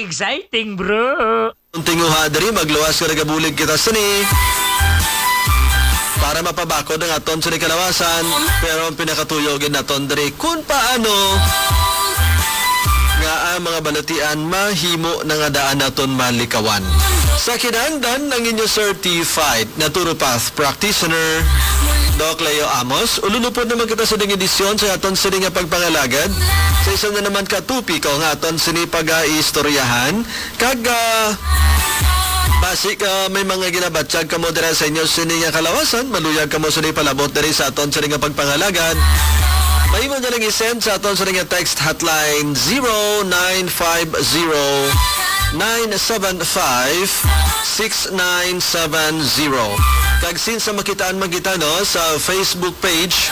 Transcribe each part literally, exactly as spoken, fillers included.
Exciting, bro! Ang tinguha diri, magluwas nga nagabulig kita sini para mapabakod ang aton sini kalawasan. Pero ang pinakatuyo gid naton diri, kung paano nga ang mga balatian mahimo na nga daan naton malikawan. Sa kinahanglan, ang inyo certified naturopath practitioner, Doc Leo Amos. Ululupod naman kita sa ding edisyon sa aton sini nga pagpangalagad sa isa na naman ka topiko nga aton sini pag-aistoryahan. Kag, ah, basi ka may mga ginabatyag kamo dira sa inyo sini nga kalawasan, maluyag kamo sini palabot diri sa aton sini nga pagpangalagad. Mahimo na lang i-send sa aton sini nga text hotline, zero nine five zero, nine seven five, six nine seven zero. Kag since sa makitaan man kita, no, sa Facebook page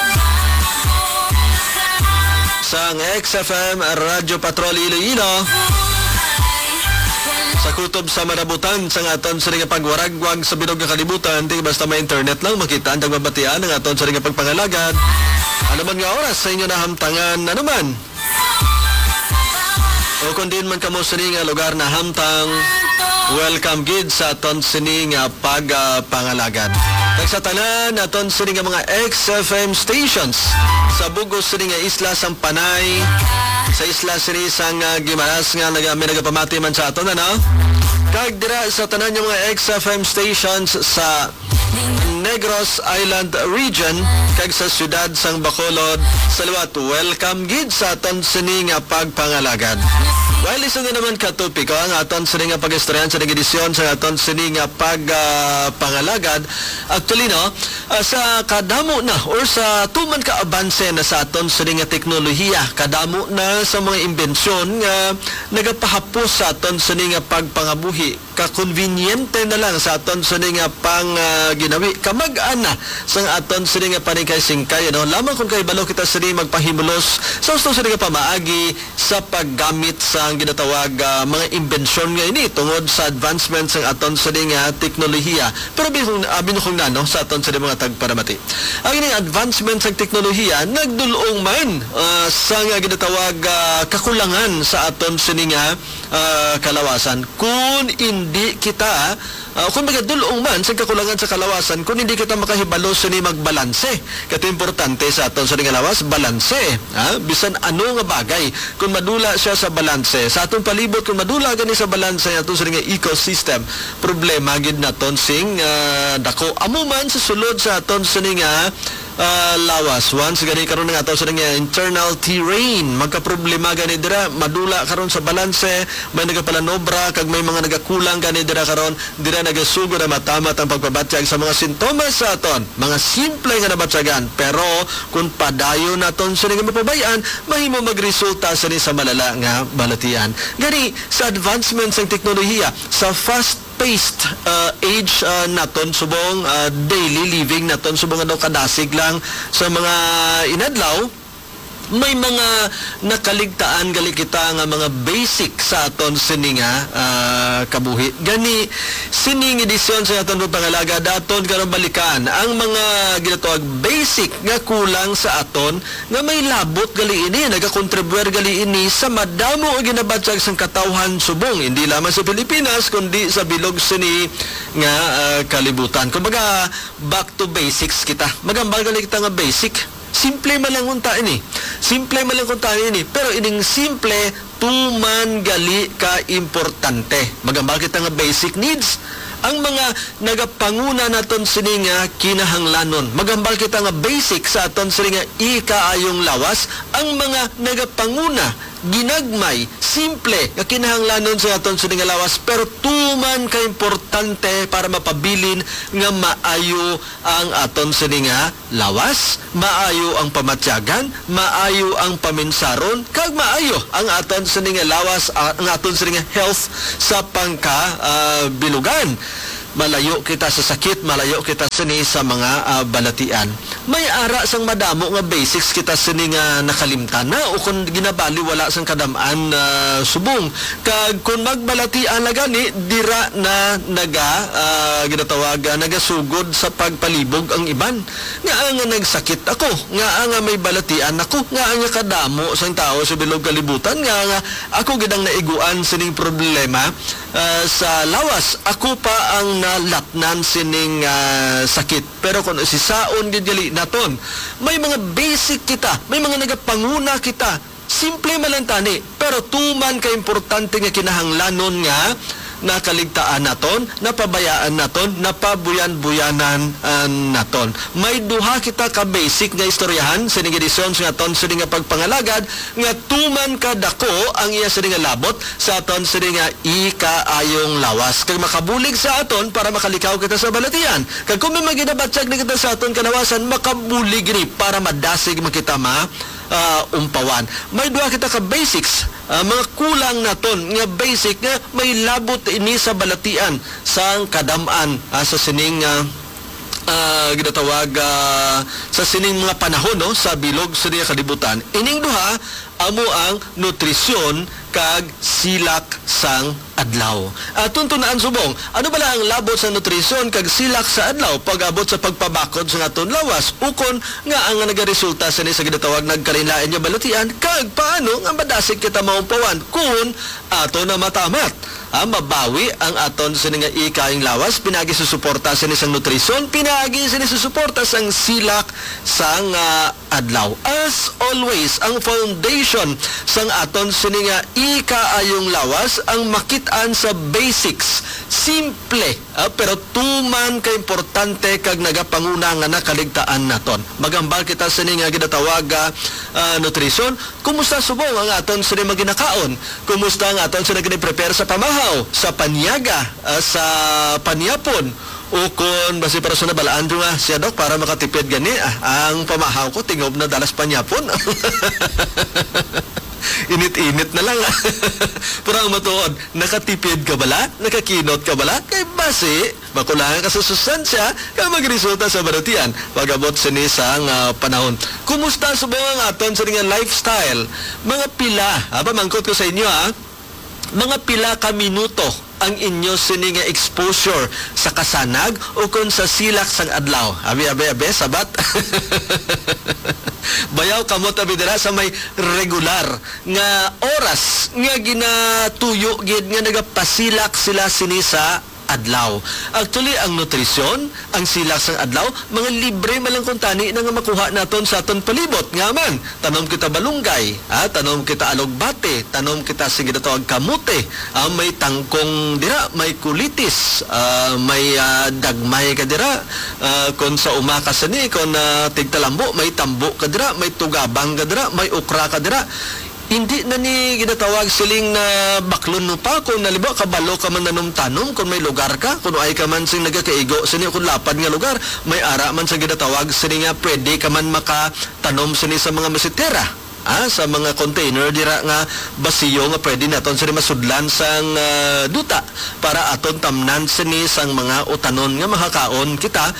sang X F M Radyo Patrol Iloilo, sa kutob sa marabutan sang aton sini nga pagwaragwag sa bilog nga kalibutan, di basta may internet lang makita ang mabatian ang aton sini nga pagpangalagad. Ano man nga oras sa inyo nahamtangan, ano man, o kung diin man kamo sini nga lugar nahamtang, welcome gid sa aton sini nga pagpangalagad. Kag sa tanan aton sini nga mga X F M stations sa bug-os sini nga isla sang Panay, sa isla sini sang, ah, Guimaras nga naga-, may nagapamati man sa aton, ano? Kag dira sa tanan nga mga X F M stations sa Negros Island Region kag sa siyudad sang Bacolod, sa liwat, welcome gid sa aton sini nga pagpangalagad. Well, isa na naman ka topiko ang aton sini nga pag-istoryahan sa nag-edisyon sa aton sini nga pag, ah, pangalagad. Actually, no, ah, sa kadamo na or sa tuman ka abanse na sa aton sini nga teknolohiya, kadamo na sa mga imbensyon nga nagapahapos sa aton sini nga pagpangabuhi, kakonbinyente na lang sa aton sini nga pang, ah, ginawi. Kamag-an na sang aton sini nga paningkay-singkay, ano? Lamang kung kahibalo kita sini magpahimulos sa gusto sini nga pamaagi sa paggamit sang ginatawag, ah, mga imbensyon nga ini tungod sa advancement sang aton sini nga teknolohiya. Pero abi kung, abi no kung nano sa aton sini mga tagparamati. Ang ini advancement sang teknolohiya nagdul-ong man, ah, sa nga ginatawag, ah, kakulangan sa aton sini nga ah, kalawasan. Kun indi kita, ah, kun magadul-ong man sa kakulangan sa kalawasan, kun hindi kita makahibalo sini magbalanse. Kato importante sa aton sa nga lawas, balanse, ha? Bisan ano nga bagay, kun madula siya sa balanse, sa atong palibot, kun madula gani sa balanse, aton sa nga ecosystem, problema gid naton sing, ah, dako. Amo man sa sulod sa aton sa nga ah, lawas. Once gani karon nga ato sa nga internal terrain, magkaproblema gani dira, madula karon sa balanse, may nagapalanobra, kag may mga nagakulang gani dira karon, dira nagasugod ang matamat ang pagpabatyag sa mga sintomas sa aton. Mga simple nga nabatyagan, pero kung padayon naton sini nga mapabay-an, mahimo magresulta sini sa malala nga balatian. Gani, sa advancement sang teknolohiya, sa fast paced, ah, age, ah, naton subong, ah, daily living naton subong, ano, kadasig lang sa mga inadlaw, may mga nakaligtaan gali kita nga mga basic sa aton sini nga, ah, kabuhi. Gani, sining edisyon sa aton pagpangalagad, aton karon balikan ang mga ginatawag basic nga kulang sa aton nga may labot gali ini, nagakontribuir gali ini sa madamo nga ginabatyag sang katawhan subong, hindi lamang sa Pilipinas, kundi sa bilog sini nga, ah, kalibutan. Kumbaga, back to basics kita. Magambal gali kita nga basic. Simple man lang unta ini. Simple man lang unta ini. Pero ining simple, tuman gali ka importante. Magambal kita nga basic needs, ang mga nagapanguna naton sini nga kinahanglanon. Magambal kita nga basic sa aton sini nga ikaayong lawas, ang mga nagapanguna, ginagmay, simple nga kinahanglanon sa aton sini nga lawas, pero tuman ka importante para mapabilin nga maayo ang aton sini nga lawas, maayo ang pamatyagan, maayo ang paminsaron, kag maayo ang aton sini nga lawas, ah, ang aton sini nga health sa pangka, ah, bilugan. malayo kita sa sakit, malayo kita sini sa mga, ah, balatian. May ara sang madamo nga basics kita sini nga nakalimtan na o kon ginabaliwala sang kadam-an, ah, subong. Kag kon magbalatian na gani, dira na naga, ah, ginatawag, ah, nagasugod sa pagpalibog ang iban. Ngaa nga nagsakit ako, ngaa nga may balatian ako, ngaa nga kadamo sang tawo sa bilog kalibutan, ngaa nga ako gid ang naiguan sining problema, ah, sa lawas. Ako pa ang nalatnan sining, ah, sakit. Pero kung sisaon gid gali naton, may mga basic kita, may mga nagapanguna kita. Simple man lang tani, pero tuman ka importante nga kinahanglanon nga nakaligtaan naton, napabayaan naton, napabuyan-buyanan, ah, naton. May duha kita ka basic nga istoryahan sa ning edisyon sa aton sini nga pagpangalagad nga tuman ka dako ang iya sini nga labot sa aton sini nga ikaayong lawas kag makabulig sa aton para makalikaw kita sa balatian. Kag kung may maginabatyag na kita sa aton kalawasan, makabulig ni para madasig man kita ma ah, umpawan. May duha kita ka basics, ah, mga kulang naton nga basic nga may labot ini sa balatian sang kadam-an, ah, sa sining, ah, ah, ginatawag, ah, sa sining mga panahon, no, sa bilog sa niya kalibutan. Ining duha amo ang nutrisyon kag silak sang adlaw. Aton tunaan subong, ano bala ang labot sa nutrisyon kag silak sa adlaw pag-abot sa pagpabakod sa aton lawas, ukon nga ang nagaresulta sini sa ginatawag nagkalainlain nga balatian, kag paano nga madasig kita maumpawan kun ato na matamat? Ah, mabawi ang aton sini nga ikaayong lawas pinaagi sa suporta sini sang nutrisyon, pinaagi sini sa suporta sang silak sang, ah, adlaw. As always, ang foundation sang aton sini nga ikaayong lawas ang makit-an sa basics. Simple, ah, pero tuman ka importante kag nagapanguna nga nakaligtaan naton. Maghambal kita sini nga ginatawag, ah, ah, nutrisyon. Kumusta subong ang aton sini maginakaon? Kumusta ang aton sini gini-prepare sa pamahaw, sa panyaga, ah, sa panyapon? Ukon basi para sa nabalaan ko nga siya, Dok, para makatipid gani, ah, ang pamahaw ko, tingob na dalas panyapon. Init-init na lang, ah. Pero ang matuod, nakatipid ka bala? Nakakinot ka bala? Kay basi, makulangan ka sa sustansya, kag magresulta sa balatian pag-abot sini sang, ah, panahon. Kumusta subong ang aton sini nga lifestyle? Mga pila, ah, pamangkot ko sa inyo, ah, mga pila ka minuto ang inyo sini nga exposure sa kasanag o kon sa silak sang adlaw? Abi, abi, abi, sabat. Bayaw kamot abi dira sa may regular nga oras nga ginatuyo gid nga nagapasilak sila sini sa adlaw. Actually, ang nutrisyon, ang silak sang adlaw, mga libre man lang kuntani na nga makuha naton sa aton palibot. Nga man, tanom kita balunggay, ah, tanom kita alugbate, tanom kita sing ginatawag kamote, ah, may tangkong dira, may kulitis, ah, may, ah, dagmay ka dira, ah, kon sa uma ka sini, kon, ah, tigtalambo, may tambo ka dira, may tugabang ka dira, may okra ka dira. Hindi na ni ginatawag siling na baklon mo pa kung halimbawa kabalo ka man nanom-tanom, kung may lugar ka, kung ay ka man sing nagakaigo sini kung lapad nga lugar, may ara man sa ginatawag sini nga pwede ka man makatanom sini sa mga masitera, ah, sa mga container dira nga basiyo nga pwede naton sini masudlan sang, ah, duta para aton tamnan sini sang mga utanon nga makakaon kita.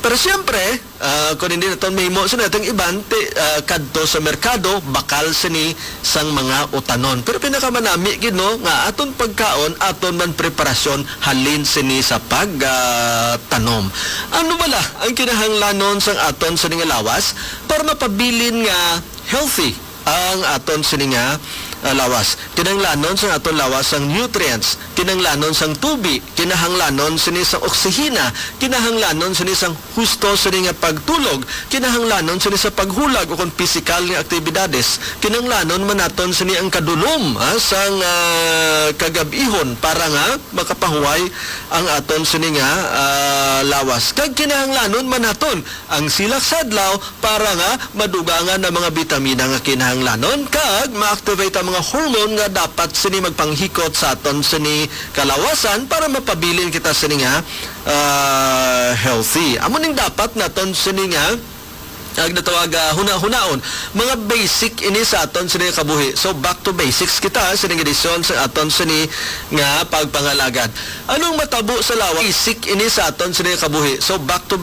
Pero siyempre, ah, kung hindi naton mahimo sa natong iban, ti-, ah, kadto sa merkado, bakal sini sang mga utanon. Pero pinakamanami gid, no, nga aton pagkaon, aton man preparasyon halin sini sa pag, ah, tanom. Ano bala ang kinahanglanon sang aton sini nga lawas para mapabilin nga healthy ang aton sini nga, ah, lawas? Kinahanglanon sang aton lawas sang nutrients, kinahanglanon sang tubi, kinahanglanon sini sang oksihina, kinahanglanon sini sang husto sini nga pagtulog, kinahanglanon sini sa paghulag ukon pisikal nga aktibidades, kinahanglanon man naton sini ang kadulom, ha, sang, ah, kagab-ihon para nga makapahuway ang aton sini nga, ah, lawas. Kag kinahanglanon man naton ang silak sa adlaw para nga madugangan ang mga bitamina nga kinahanglanon kag ma-activate ang mga hormone nga dapat sini magpanghikot sa aton sini kalawasan para mapabilin kita sini nga, ah, healthy. Amo ning dapat naton sini nga, Ang natawag, ah, hunahunaon, mga basic ini sa aton sini kabuhi. So, back to basics kita sa ning edisyon sa aton sini nga pagpangalagad. Anong matabo sa lawas? Basic ini sa aton sini kabuhi. So, back to